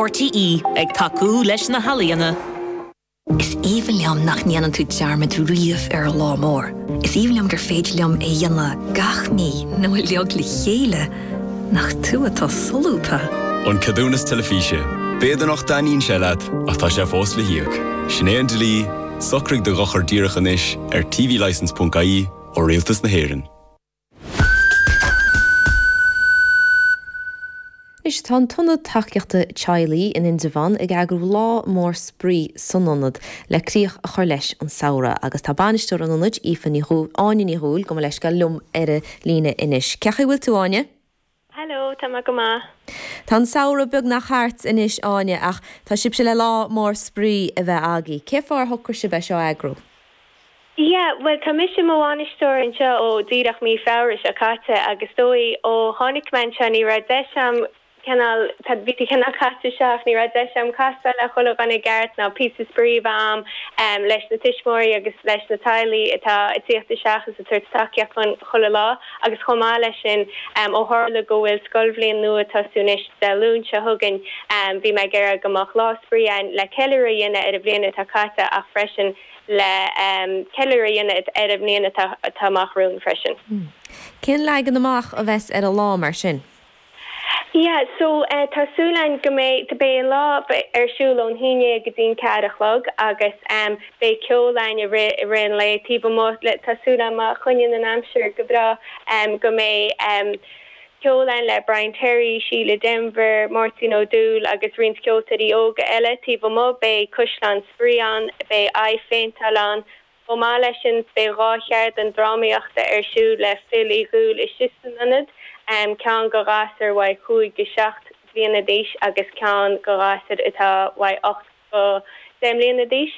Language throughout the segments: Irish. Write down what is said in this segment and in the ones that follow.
RTÉ, ag tacú leis na healaíona. Is aoibhinn liom nach ndéanann tú dearmad riamh ar an lá mór. Is aoibhinn liom gur féidir liom é a dhéanamh gach mí nó uilig le chéile. Nach tú atá solúbtha! An Ceadúnas Teilifíse. B'fhéidir nach dtaitníonn sé leat, ach tá sé fós le híoc. Sin é an dlí, socraigh do dhochar díreach anois ar tvlicence.ie ó Rialtas na hÉireann. Anois tá an tIonad Tacaíochta Teaghlaigh in Indreabhán ag eagrú lá mór spraoi san ionad le críoch a chur leis an samhradh agus tá bainisteoir an ionaid, Aoife Ní Dhúill, Áine Ní Dhúill, gabh mo leithscéal, liom ar an líne anois. Cén chaoi a bhfuil tú, Áine? Hello, tá mé go maith. Tá an samhradh beagnach thart anois, Áine, ach tá sibhse le lá mór spraoi a bheith agaibh. Cén fáth ar shocraigh sibh é seo a eagrú? Yeah, bhuel tá mise i mo bhainisteoir anseo ó díreach mí Feabhra seo caite agus is dóigh ó tháinig mé anseo ní raibh deis a'm cineál, tá, bhí tú cineál caite isteach, ní raibh deis a'm castáil le chuile dhuine i gceart ná píosa spraoi a bheith a'm leis na tuismitheoirí agus leis na teaghlaigh atá ag tíocht isteach is ag tabhairt tacaíocht dhúinn chuile lá agus chomh maith leis sin ó tharla go bhfuil scoilbhliain nua ag tosú anois Dé Luain seo chugainn bhí mé ag iarraidh go mbeadh lá spraoi a'inn le ceiliúradh a dhéanamh ar an bhliain atá caite ach freisin le ceiliúradh a dhéanamh ar an mbliain atá amach romhainn freisin. Cén leagan amach a bheas ar an lá mar sin? Yeah, so tá súil againn go mbeidh, beidh an lá ar siúl ón haon dhéag go dtí an ceathair a chlog agus beidh ceol againn i rith, i rith an lae taobh amuigh, tá súil agam má choinníonn an aimsir go breá go mbeidh ceol againn le Brian Terry, Síle Denvir, Máirtín Ó Dúill agus roinnt ceoltóirí óga eile taobh amuigh. Beidh caisleán spraoi ann, beidh aghaidhphéinteáil ann. Chomh maith leis sin beidh 2 cheardlann drámaíochta ar siúl le Phil Uí Dhúill istigh san ionad, ceann go ghasúir uaidh 5 go 7 bliana d'aois agus ceann go ghasúir atá uaidh 8 go 10 mbliana d'aois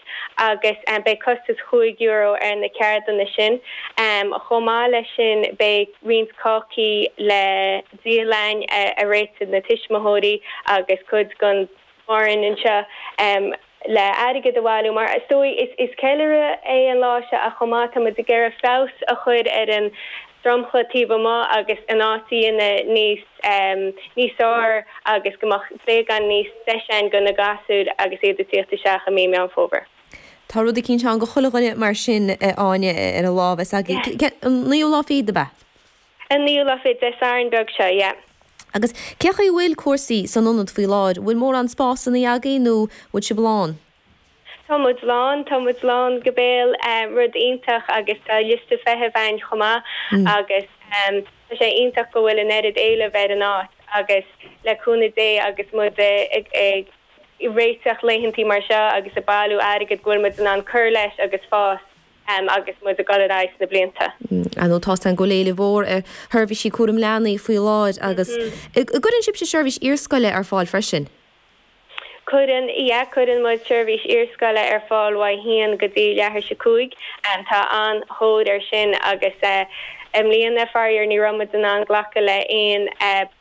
agus beidh costas €5 ar na ceardlanna sin. Chomh maith leis sin beidh roinnt cácaí le díol againn a réitigh na tuismitheoirí agus cuid den bhfoireann anseo le airgead a bhailiú mar is dóigh is ceiliúradh é an lá seo ach chomh maith tá muid ag iarraidh feabhas a chur ar an dromchla taobh amuigh agus an áit a dhéanamh níos níos fearr agus go mbeadh playground níos deise ann do na gasúir agus iad ag tíocht isteach i mí Meán Fómhair. Tá rud eicínt ann go chuile dhuine mar sin, a Áine, ar an lá a bheas agaibh. An naoú lá fichead, ab ea? An naoú lá fichead, Dé Sathairn beag seo, yeah. Agus cén chaoi a bhfuil cúrsaí san ionad faoi láthair? Bhfuil mórán spásanna agaibh nó bhfuil sibh lán? Tá muid lán, tá muid lán go béal, rud iontach agus tá liosta feithimh againn chomh maith agus tá sé iontach go bhfuil an oiread éilimh ar an áit agus le cúnamh Dé agus muid ag réiteach laethantaí mar seo agus ag bailiú airgid go bhfuil muid in ann cur leis agus fás agus muid ag dul ar aghaidh sna blianta. Ar ndóigh tá's againn go bhfuil éileamh mhór ar sheirbhísí cúram leanaí faoi láthair agus an gcuireann sibhse seirbhís iarscoile ar fáil freisin? Cuireann, yeah, cuireann muid seirbhís iarscoile ar fáil uaidh haon go dtí leathuair tar éis a cúig. Tá an-thóir air sin agus i mbliana, faraor, ní raibh muid in ann glacadh le aon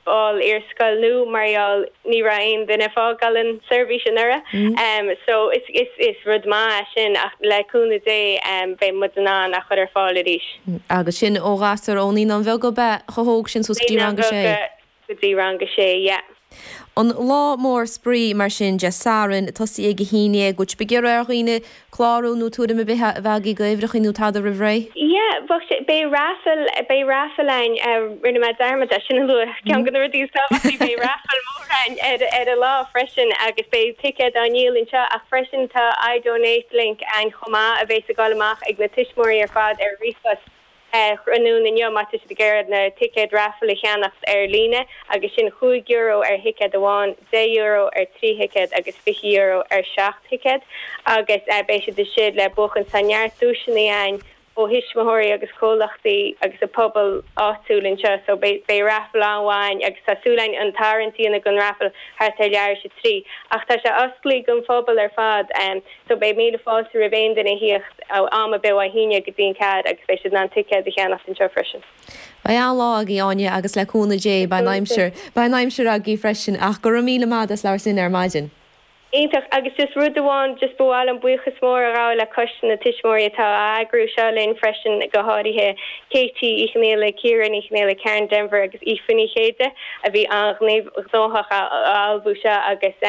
ball iarscoil nua mar gheall ní raibh aon duine ag fágáil an seirbhís anuraidh. So is, is, is rud maith é sin ach le cúnamh Dé beidh muid in ann a chur ar fáil arís. Agus sin ó ghasúir ó Naíonáin Bheaga ab ea, chomh hóg sin suas go dtí Naíonáin rang a sé? Bheaga go dtí rang a sé, yeah. An lá mór spraoi mar sin, Dé Sathairn, tosaí ag a haon dhéag, bhfuil sibh ag iarraidh ar dhaoine clárú nó tuairim ar bith a bheith agaibh go uimhreacha nó tada roimh ré? Yeah, bheadh sé, beidh raffle, beidh raffle againn, rinne mé dearmad é sin a lua, ceann de na rudaí is tábhachtaí, beidh raffle mór againn ar, ar an lá freisin agus beidh ticéid á ndíol anseo ach freisin tá iDonate link againn chomh maith a bheas ag dul amach ag na tuismitheoirí ar fad ar ríomhphost. tráthnóna inniu má tá siad ag iarraidh na ticéid raffle a cheannacht ar líne agus sin €5 ar thicéad amháin, €10 ar thrí thicéad agus €20 ar sheacht thicéad agus beidh siad istigh le buachan. Tá neart duaiseanna againn ó thuismitheoirí agus comhlachtaí agus an pobal áitiúil anseo so beidh raffle an-mhaith againn agus tá súil againn an tarraingt a dhéanamh don raffle thart ar leathuair tar éis a trí ach tá sé osclaithe don phobal ar fad. So beidh míle fáilte roimh aon duine a thíocht am ar bith ó a haon déag go dtí an ceathair agus beidh siad in ann ticéad a cheannacht anseo freisin. Beidh an-lá agaibh, Áine, agus le cúnamh Dé beidh an aimsir, beidh an aimsir agaibh freisin ach go raibh míle maith as labhairt linn ar maidin. Iontach. Agus just rud amháin, just ba mhaith liom buíochas mór a ghabháil le Coiste na Tuismitheoirí atá á eagrú seo linn freisin, go háirithe Katie Uí Chonghaile, Ciara Ní Chonghaile, Karen Denvir agus Aoife Ní Chéide a bhí an-ghnóthach á ullmhú seo agus.